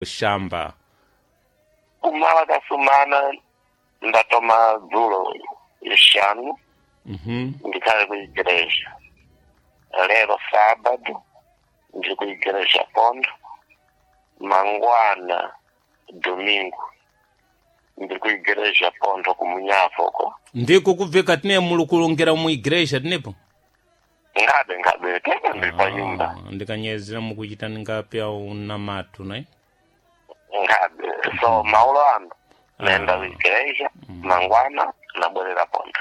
Shamba. Kumala kasumana ndatoma dzulo lixanu ndikhale ku igreja. Lero sábado ndiri ku igreja pondo. Mangwana domingo ndiri ku igreja pondo kumunyavoko. Ndiko kubveka tine muli kulongera mu igreja tinepo? Ngabe ngabe tete ndiri pa nyumba. Ah, ndikanyezera mukuchita ndingapya unamatu nayi. Ngabe so maulo ano naenda ku igreja mangwana nabwerera pondo.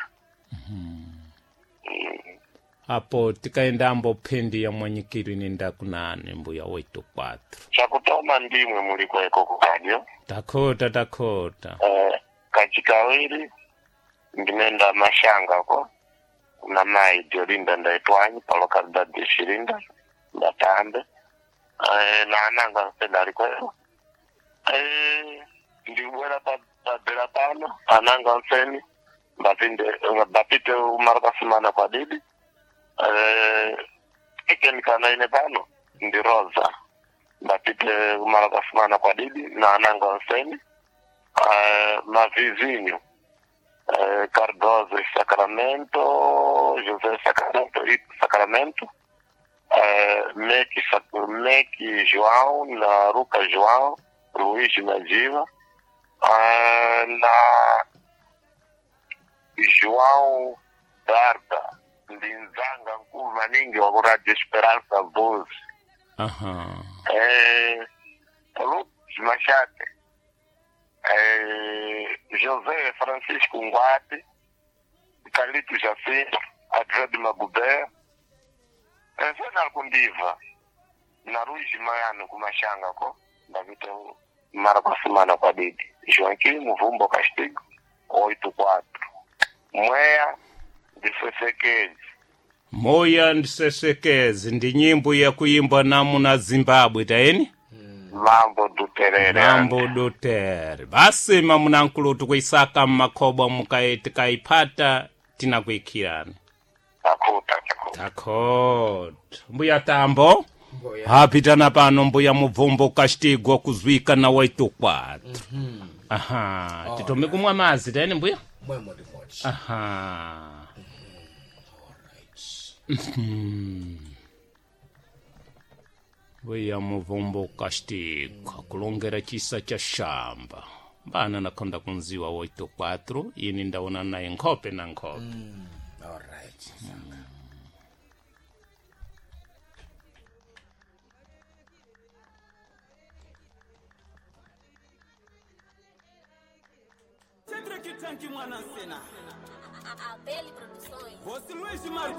Apo tikaenda ambo phendi ya mwanyikiro inenda kunani mbuya 84. Chakutoma ndimwe muli kweko kukadyo. Takhota takhota. Kachikawiri ndinenda mashanga ko na mai Diolinda ndaitwanyi pa localidade de Xirinda ndatambe na ananga mpenda likwero ndibwera padera pano ananga mfeni mbapinde mbapite umara kasimana kwa didi ikenikana ine pano ndi Rosa mbapite umara kasimana kwa didi na ananga mfeni mavizinho Cardoso e Sacramento, José Sacramento e Sacramento, Meque, Meque João, na Ruca João, Luiz Nadiva, na João Darda, Ndinzanga Nkulu maningi wa Radio Esperança Voz, Aha. Lucas Machate, José Francisco Nguate, Carlito Jacinto, Adred Magubé, Zena Kundiva, na Ruiz Mayano kumashanga ko, ndavita mara kwa semana kwa didi. Joaquim Muvumbo Castigo, 84. Mweya ndisesekezi. Moya ndisesekezi ndi nyimbo yakuimbwa namuna Zimbabwe tayeni? Mambo duterere. Mambo dutere. Basi mamunankulu tikuisaka mmakhobwa mukai tikaipata tinakuikhirani. Takuta, takuta. Takhota. Mbuya Tambo. Mbuya. Hapitana pano mbuya Mubvumbo Kastigwa kuzwika na 84. Aha, titome kumwa mazi tayeni mbuya? Mwemo ndi modzi. Aha. Alright. Mbuya Mubvumbo Kastigwa kulongera chisa cha shamba. Mbana nakhonda kunziwa 84 ini ndaona naye nkhope na nkhope. Alright. Cedric Tanki mwana sena. Abel Produções. Você Luiz Martins.